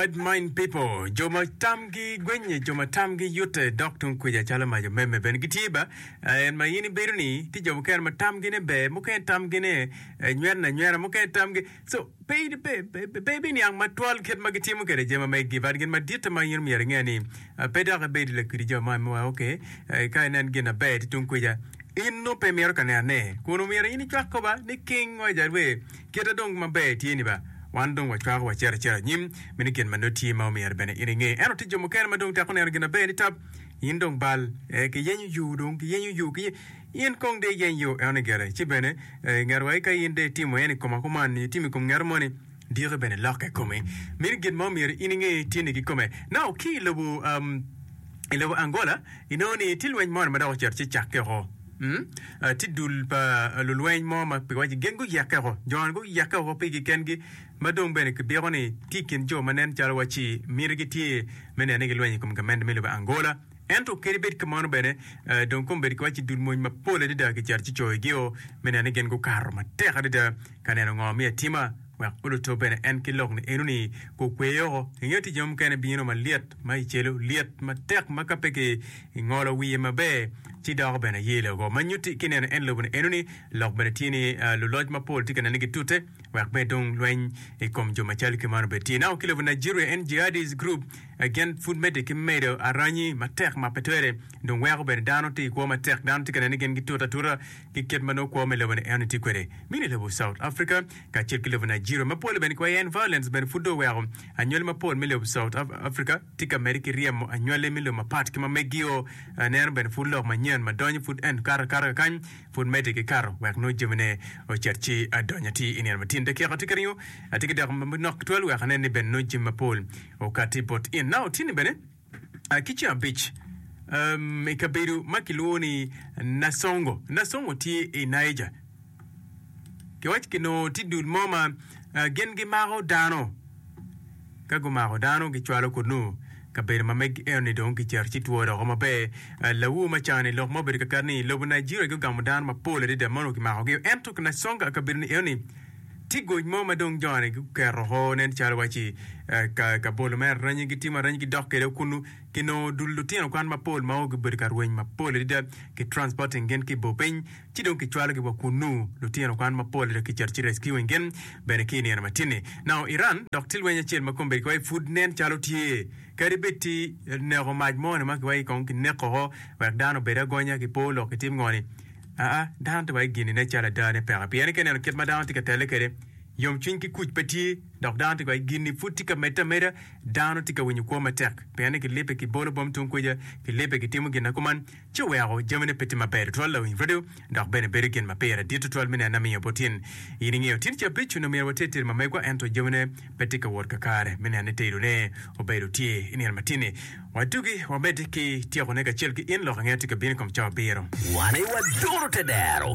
Bad mind people, jo ma tamgi gwenye, jo ma tamgi yute dok tung kwica calo mac omeme bene gitye ba. En ma in ibedo ni tye jo mukene ma tamgi ne ber, mukene tamgi ne nywene anywena, mukene tamgi so pe pe pe ibiniang matwal kit ma gitimo kwede jami ma megi but gin maditte ma in myero inge ni pe dok ibedo lakwidi jo ma wa okay ka inen gin aber tye tung kwica in nongo pe imito ka nenone kun omyero in icwak koba ni king wa jalwe Kite dong maber tye ni ba, wan dong wacwako wacito acita anyim, meno gin ma nongo tye ma omyero bene in inge. Ento tye jo mukene ma dong teko neno gin aber ni tap, in dong bal, ee, kiyenyo yo dong, kiyenyo yo, kiye, in kong dong iyeny yo enoni gire. Ci bene, ee, ngat wa ka in dong itimo en i koma kuman nyo itimo i kom ngat moni, diki bene lokke i komi. Meno gin ma omyero in inge tye ni kikome. Now, ki i lobo, um, i lobo Angola, inongo ni tye lweny moni ma dok ocito ci cakke oko. Tye dul pa lulweny mo ma kiwaco gin guyekke woko, jo-ni guyekke woko pigi kengi ma dong bene kibiko ni tye i kin jo ma nen calo wacci mitigi tye me neno ni gilwenyo i kom gamente me lobo Angola. Ento kadi bed kumeno bene, dong kombeddi kiwaco dul mony mapol adada kicito ci coyogi-o me neno ni gin gukato matek adada ka neno ngo me atima wek oluto bene en ki lok ni enoni gukwe woko. Inge tic jami mukene bino malyet ma i celo lyet matek ma ka pe ki ngolo wiye maber ci doko bene ayelo woko. Ma nyutti ki neno en lobo-ni enoni lok bene tye ni luloc mapol tye ka neno ni gitute wek bene dong lweny i kom jo macalo ki man obed tye. Nako ki lobo Nigeria en Jihadis group gin pud medde ki medo aranyi matek ma pe twere dong weko bene dano tye i kwo matek dano tye ka neno ni gin gitute atuta ki kit ma nongo kwo me lobo-ni enoni tye kwede. Mini lobo South Africa kacel ki lobo Nigeria ma pole bene kiwaco en violence bene pud dong oweko anywali mapol me lobo South Africa tye ka medde ki ryemo anywali me lobo mapat ki ma megio. Neno bene pud lok manyen ma donyo pud en kato akata kakany pud medde ki kato wek nongo jamine ocit ci adonyo atir i nino matin. Dakika tye ka ringo atye ki dako manok tutwal wek anen ni bene nongo jami mapol okati bot in. Now tye ni bene Ki ceng abic, i kabedo ma kilwongo ni Nasongo, Nasongo tye i Niger, kiwaco kinongo tye dul mo ma gin gimako dano. Ka gumako dano gicwalo kunnu kabedo ma megi eno-ni dong kicito ci two doko maber. Lawur ma cani lok ma obedo kakare ni lobo Nigeria gugamo dano mapol adada ma onongo kimakogi. Ento Nasonga kabedo-ni eno-ni Tye goc mo ma dong joni guketo oko nen calo waci ka bolo mere aranyi gitimo aranyi gidok kwede kunnu kinongo dul lutino kwan mapol ma gubedo ka rweny mapol adada ki transporting gin ki i bor piny ci dong kicwalogi wa kunnu lutino kwan mapol adada kicito ci rescuing gin bene ki i nino matin-ni. Now Iran dok tye lweny acel ma kombeddi kiwaci pud nen calo tye kadi bed ti neko mac moni ma kiwaci kong kineko oko wek dano obed agonya ki po lok kitim ngo-ni. Aa, dano tye wa i gin-ni nen calo ada ne peke, pien ka ineno kit ma dano tye ka telle kwede, yomcwiny ki kuc pe tye, dok dano tye wa i gin-ni pud tye ka medde ameda, dano tye ka winyo kwo matek, pien ni gilibbe ki bolo bom tung kuca, gilibbe gitimo gin ma kuman, ci oweko jamine pe tye maber tutwal lawiny redio, dok bene bedo gin ma pire dit tutwal me neno amiyo bot in. In ingeyo, tin ca abic onongo myero water tedo ma megwa, ento jamine pe tye ka wot kakare me neno ni tedone obedo tye i nino matin-ni. Wadugi wamedde ki tyekone kacel ki in lok angeya tye ka bino i kom cawa abiro. Wan aye waduro te dero.